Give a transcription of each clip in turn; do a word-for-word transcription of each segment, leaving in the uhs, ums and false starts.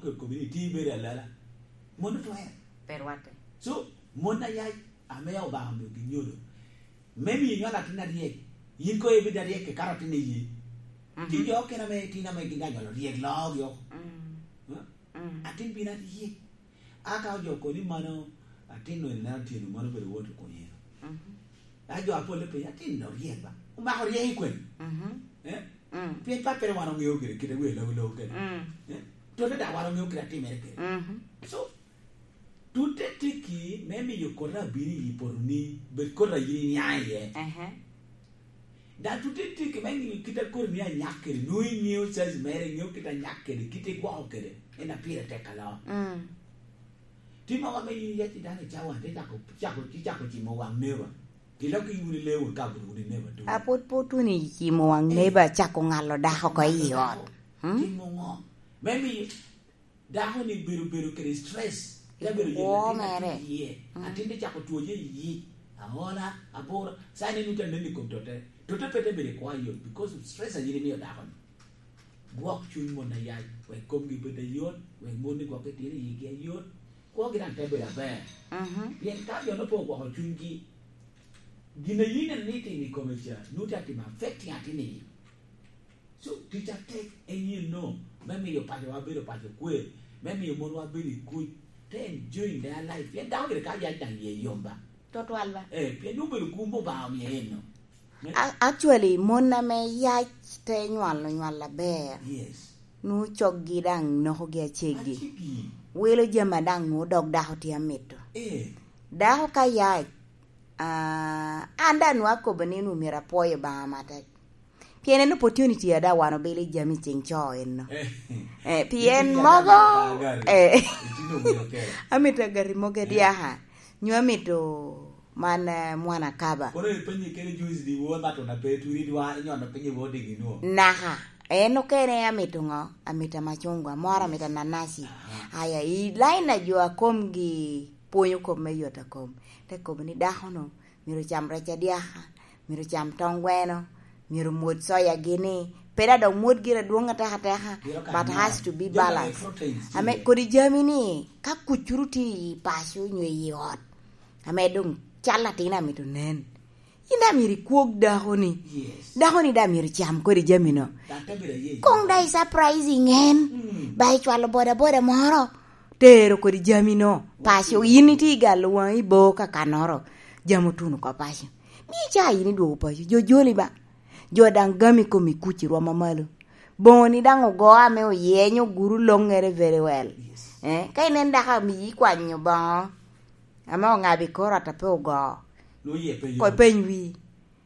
Community bedo alala. Mon otwer. Pe rwatte. So, mon ayac ame Obaŋa omio ginyodo. Me miyo nywalo atin aryek. Yin kono ibed aryek kekara atin i yi. Mhm. Tye jo okene ame tin ame gin anywalo ryek loogi oko. Mm. Huh? Mm. Atin bino aryek. A ka ojo koni mano, atin-nu en neno tyeno mano obedo wot okonye. Mhm. A jo apol pe, atin-nu oryek ba. Omako ryek i kwene. Mhm. Eh? Mm. Pien pappere wan oŋeo kede kite wer logo logo kede. Mm. Eh? Tote daŋ wan oŋeo kede atimere kede. Mhm. So, tutte tiki me miyo kota abino i poto ni, bed kota yin inya iye. Ehe. Daŋ tutte tiki me ŋeyo kit a koti ni anyak kede, nwoŋo iŋeo size mere, iŋeo kit anyak kede, kit igwoko kede, en a pire tek alo. Mm. Tye mogo ame yin iyac i dano i cawa, te cako, cako, icako cimo waŋ neba. Ilok i wun i lewu, ka bino wun i neba tuŋ. A pwod, pwod wun i cimo waŋ neba, cako ŋalo dako oko i ot. Hmm? Timo ŋo? Me miyo dako ni bedo, bedo kede stress. Te bedo kwo mere. Atin te cako twoje i yi. Aola, abura. Sa ni nuta neni kom tote. Tote pe te bedo i kwa yot because of stress a yin imiyo dako ni. Gwok cuny mon ayac, wek komgi bed ayot, wek mon ni gwok itino i yigi ayot. Kwogi daŋ te bedo aber. Mhm. Pien ka jo no pe ogwoko cunygi, gin a yin en ni timo i kome ca, nuti atimo affecting atin i yi. So, tic atek en yin no, me miyo pacowa bedo paco kwe, me miyo monwa bedo i kuc, te enjoying their life. Pien dako gire ka yac daŋ iye yom ba. Tutwal ba. Eh, pien nwoŋo bedo kum Obaŋa omio en no. A-, actually, mon ame yac te nywalo nywal aber, yes, nwoŋo coggi daŋ nokogi aceggi. Aceggi. Wilo jami a daŋ nwoŋo dog dako tye amito. Eh. Dako ka yac, ah, an daŋ nwoŋo akobo ni nwoŋo myero apwoyo Obaŋa matek. Pien en opportunity a daŋ wan obilo i jami i ceŋ co enno. Eh. Eh, pien mogo, eh, amito agati mogo, eh, diaka. Nyo amito man, eh, mwana kaba. Kono ipenye kene juice di wo mato na pe turi dwa nyono penye wo digi nwo. Naka. En okene amito ŋo? Amito macungwa, moro amito nanasi. Aha. Aya, i line a jo a komgi pwonyo kop me yot a kom. Te kobo ni dako no, myero ocam rec adyaka, myero ocam tong gweno, myero omwod soya gini. Pe da dok mwod gire adwoŋ ateka ateka, but has to be balanced. Ame kodi jami ni, ka kucuru tye i paco nyo i ot, ame doŋ cal atin amito nen. Yin daŋ myero ikwog dako ni. Yes. Dako ni daŋ myero icam kodi jami no. Koŋ daŋ i surprising en. Mm. Ba icwalo boda boda moro. Tero kodi jami no. Paco, yin itye i galo waŋi i bo kakanoro. Jami otuno oko paco. Mi ca yin idwogo paco. Jo joli ba. Jo daŋ gami kom i kuc i rwom amalo. Boŋo ni daŋ ogo ame oyenyo guru loŋere very well. Yes. Eh, ka inen dako amiyi kwanyo boŋo. Ame oŋabo i kor ot a pe ogo. Nwoŋo iye pe yom. Ko ipeny wi.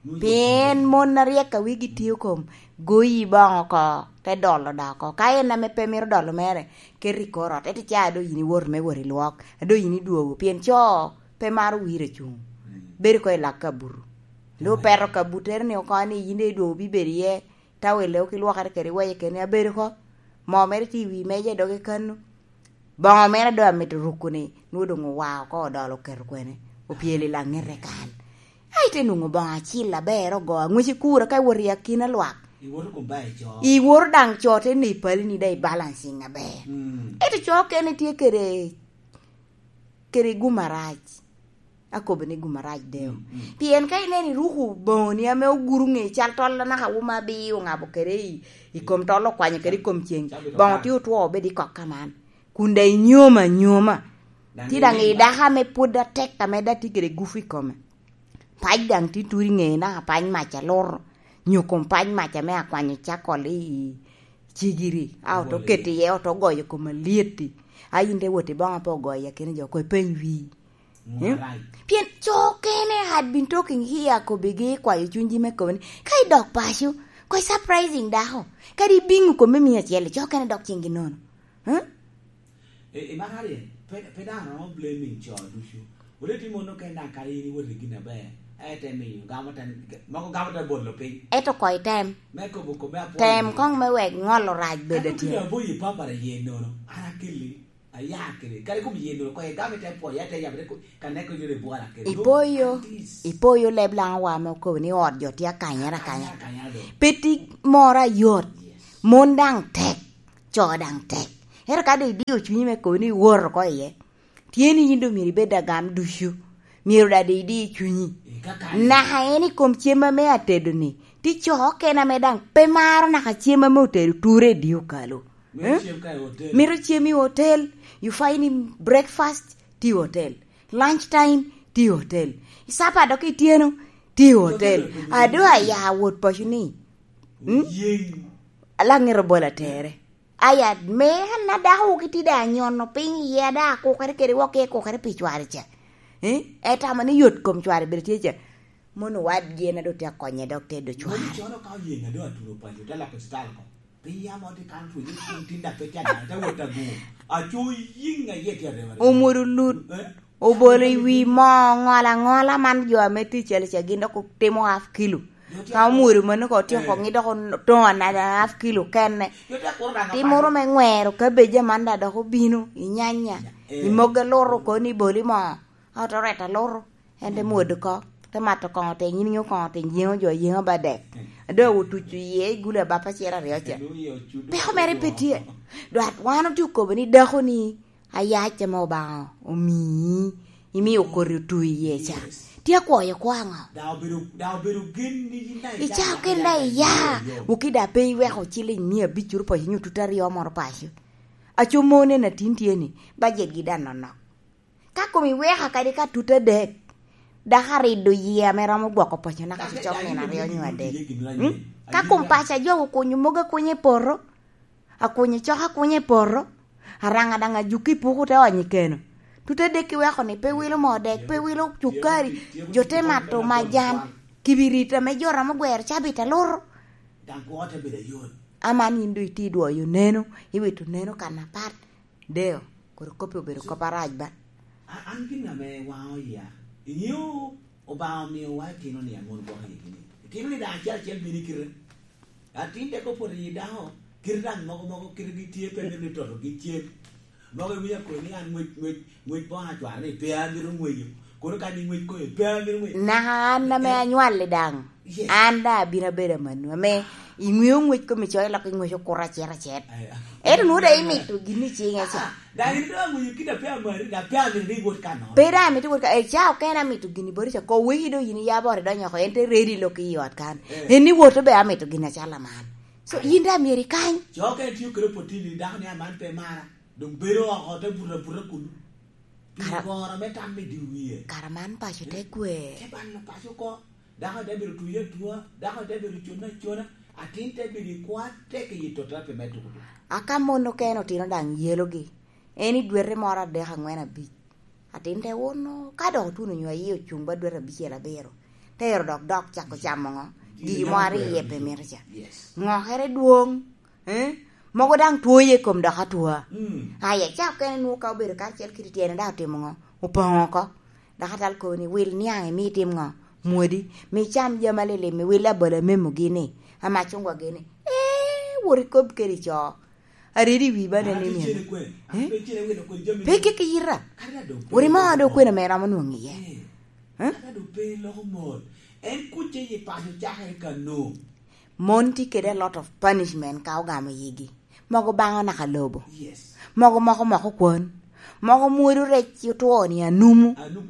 Nwoŋo iye pe yom. Pien mon aryek a wigi tye okom, goyi boŋo oko, te dolo da oko. Ka en ame pe mito dolo mere, ket i kor ot. Ento ca a doŋ yin iwoto me wot i lwok, a doŋ yin idwogo. Pien co pe maro wir acuŋ. Mm. Bedo ko i lak kabuto. Nwoŋo peto kabutere ni oko ni yin daŋ idwogo bibedo iye. Tawel-le okilwokere kede weye kene abedo oko. Moo mere tye i wi meja i doge kano. Boŋo mere doŋ amito ruko ni, nwoŋo doŋ owa oko odolo oketo kwene, opyelo i laŋete kan. Ai, te nwoŋo boŋo acil aber ogo, aŋwec i kura ka iwot i akina lwak. Iwoto kom ba ico. Iwoto daŋ co te ni pali ni daŋ i balancing aber. Mm. Ento co okene tye kede kede gum arac. Akobo ni gum arac deo. Mm, mm. Pien ka ineno iruko boŋoni ame oguro ŋe cal tol anaka wuma abi oŋabo kede i, i kom tol okwanyo kede i kom ceng. Boŋo tye otwo obed i kok kaman. Kun daŋ inyomo anyoma. Tye daŋ i dako ame pwod atek ame daŋ tye kede gufu i kome. Pac daŋ tye turi ŋe naka pac mac alur, nyo kom pac mac ame akwanyo cakol i cigiri, a oto keto iye, oto goyo kom alyet-ti. A yin te wot i boŋo pe ogoyo i akina jo, ko ipeny wii. Mm? Pien co okene had been talking here, akobigi, kwayo cunygi me kobo ni, ka idok paco, ko i surprising dako, kadi ibiŋo kome miya acel, co okene dok cinggi nono. Mm? I, i man aryo, pe, pe dano romo blaming co ducu. Wele tye mon okene daŋ kadi in iwot i gin aber, aye te miyo gamo te, mogo gamo te bolo piny. Ento ko item. Me kobo kome apwoyo. Tem koŋ me wek ŋolo rac bed atye. Ento kit aboyi papara ye nono, an akelli, aya kede. Kadi kom ye nono, ko igamo ite pwoyo, ite yabere ko, ka neko yore bwala kede. Ipoyo, ipoyo leb laŋo wa me okobo ni ot jo tye akanyere akanya. Akanya, akanya do. Pe ti moro ayot. Yes. Mon daŋ tek. Co daŋ tek. Ento ka doŋ idio cunyi me kobo ni iwot oko iye, tye ni yin doŋ myero ibed agam ducu. Myero daŋ doŋ idi cunyi. Naka en i kom cem ame atedo-ni, ti co okene ame daŋ pe maro naka cem ame otedo ture i di okalo. Mito cem i hotel, you find him breakfast ti i hotel, lunch time ti i hotel, sapa dok ityeno ti i hotel. Ado aya wot paco ni, alaŋ ero bol atere. Aya me an adako wok iti da anyono piny iye ada akukere kede wok i kukere pi cware ca. Eh? Etamo ni yot kom cware bene tye ca. Mono wadgi en ado tye akonye dok tedo cware. Mono cono ka oyenga do atuno paco te loko cital ko. Piny yamo ti kan tu ni kun tin da pe can te wot agu. Aco yinga ye tye arema. Omwodo lut. Eh? Obolo i wi moo ŋol aŋola man jo ame tye i calo ca gin dok otimo half kilo. Ka omwodo mano ka otyeko koŋi dok otoŋo another half kilo kene. Timoro me ŋwero kabeja man da dok obino i nyanya, i mogo aluto oko ni boli moo. Ot oret aluto, en te mwodo oko, te mato koŋo te nyin nyo koŋo te yeŋo jo yeŋo ba dek. Ado otuco iye i gulu abapa acel aryo ca. Peko mere pe tye. Dwat wan otye okobo ni dako ni, ayac ame Obaŋa omii, imio koti otu iye ca. Tye akwoyo kwo aŋo? Ica okene da iya, wuki da pe iweko ciliŋ mia abic curu paco nyo tutu aryo moro paco. Aco mon en atin tye ni, bajet gi da nonok. Ka kom iweka kadi ka tutu adek, dako arido yie ame romo gwoko paco naka cicok nino aryo nyo adek. Mm? Ka kom paco ajo okunyo mogo akunya i poto, akunyo cok akunya i poto, araŋa daŋ ajuki i puku te onyo i keno. Tute dek iweko ni pe wilo moo dek, pe wilo cukari, jo te mato majan, kibirit ame jo romo gwero cabit aluru. Daŋ kwo te bedo ayot. Aman yin doŋ iti dwoyo neno, iwito neno kan apat. Deo, kodi kop-pi obedo kop arac ba. A-, an gin ame waŋo iya. Iŋeo Obaŋa omiowa itino ni aŋon gwok i gini. Itino ni daŋ acel acel bino i kite. Atin dek opoto i dako, kite daŋ mogo mogo kite gi tye pe mito ni toto gi cem. Mogo iwinyo akobo ni an ŋwec, ŋwec, ŋwec boŋo acwar ni pe amito ŋweco. Kono ka ni ŋwec koyo pe amito ŋweco. Naka an ame anywalli daŋ. Yes. An daŋ abino abedo amannu, ame iŋweo ŋwec kom icoyo lok iŋweco kuto acet acet. Ento nwoŋo daŋ imito gin i ciŋe ca. Ah, daŋ in doŋ aŋweco kit a pe amari, daŋ pe amito ni iwot ka nono. Pe daŋ amito iwot ka, eh, ca okene amito gini boti ca, ko weki doŋ yin iya bot idonyo oko, en te ready lok i ot kan. Eh. En ni woto be amito gin acalo aman. So, yin daŋ myero ikany. Co ka itio kede opotini, dako ni aman pe mara, doŋ bedo oko te buto abuta kunu. Pi goro me tam me di wie. Kara man paco te kwer. Te balo paco oko. Dako te bedo tuye atua, dako te bedo cone acona, atin te bedo i kwo atek i tota pi me tuko tuko. Aka mon okene otino daŋ yelogi, en i dwete moro adek, aŋwen, abic. Atin te wono, ka dok otuno nyo aye ocuŋ ba dwete abicel abiro, te ero dok dok cako camo ŋo? Gigi mo aryo iye pe mito ca. Yes. Ŋokere dwoŋ, eh? Mogo daŋ two iye kom dok atwa. Mm. Aya, ca okene nwoŋo ka obedo karacel kede tyene daŋ otimo ŋo? Opoŋo oko. Dok atal kobo ni, "Wil niaŋ imi itim ŋo? Mwodi, mi icam jami alilim, iwil labolo amemo gini, amacungwa gini." Ee, wot ikob kede co. Aridi wi ba nene ni. Eh? Pe kiki yita. Wot imo do kwena me romo nwoŋ iye. Eh? Kata do pe loko mot. En kuc i paco cakere ka no. Mon tye kede a lot of punishment ka ogamo yigi. Mogo baŋo naka lobo. Yes. Mogo moko moko kwon. Mogo mwodo rec otwo ni anumu. Anumu.